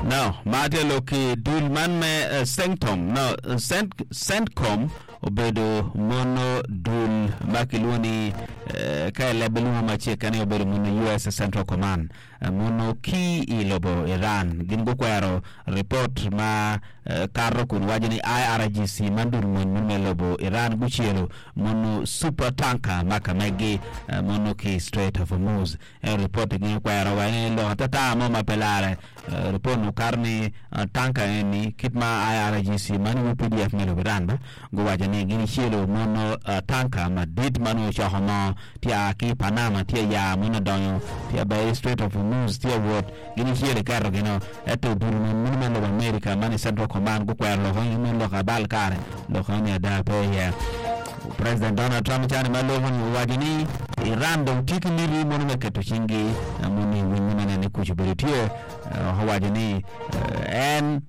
No, ma tye lok ki dul man me Centcom, no, Cent, Centcom obedo mono dul ma kilwongo ni ka i leb lwongo macek ni obedo mono US Central Command mono ki i lobo Iran. Gin gukwero ripot ma kato kun waco ni IRGC man dul mony mono me lobo Iran gucelo mono super tanker ma ka megi mono ki Strait of Hormuz. Ento ripot-ti gin okwero wa ni lok atata mo ma pe larre. Ripot-ni okato ni tanka eni kit ma IRGC ma nongo UPDF me lobo Iran ba guwaco ni gin icelo mono tanka madit ma nongo ocoko moo tye a ki i Panama tye ya mono odonyo tye ber i Strait of Hormuz tye wot gin icelo iketo gino ento dul mony me lobo America ma ni Central Command gukwero lok eni ni lok abal kare lok eni ada pe iye. President Donald Trump cani ma loko ni owaco ni Iran dong tye ki miti mono me keto cinggi mono i winyo me neno ni kuc obedo tye owaco ni en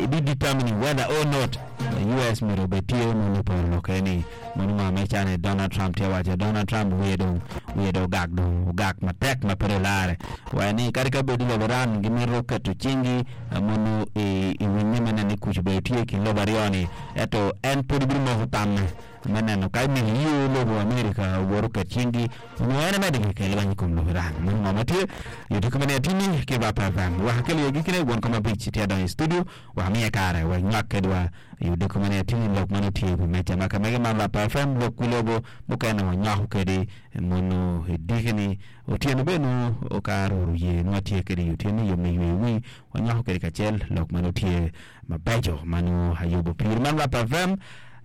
be determining whether or not US myero obed tye mono i poro lok eni mono ngo ma cani Donald Trump tye waco Donald Trump wiye dong wiye dong ogak dong ogak matek ma pe dong lare waco ni kadi ka bed ni lobo Iran gimito keto cinggi mono i winyo me neno ni kuc obedo tye i kin lobo aryo-ni Ento en pud bimoko tamme me neno ka emito yo lobo Amerika owot oket cingi onyo en emedde ki kel lweny i kom lobo Iran. Meno ngo ma tye i odiko me atini ki Rap FM. Wek akel iye gikine won kom abic tye adonyo i studio wek amiye kare wek nywak kedwa i odiko me atini lok ma nongo tye i wi meja ma ka mege man Rap FM lok wi lobo mukene wanywako kedi mono i dikini otyeno bene nongo kare oro ye nongo atye kedi i otyeno yo me yweyo wi wanywako kedi kacel lok ma nongo tye mabeco ma nongo ayubo piri. Man Rap FM,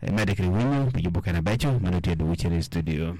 imedde kede winyo pi yubo kene abeco ma nongo tye dwogo cen i studio.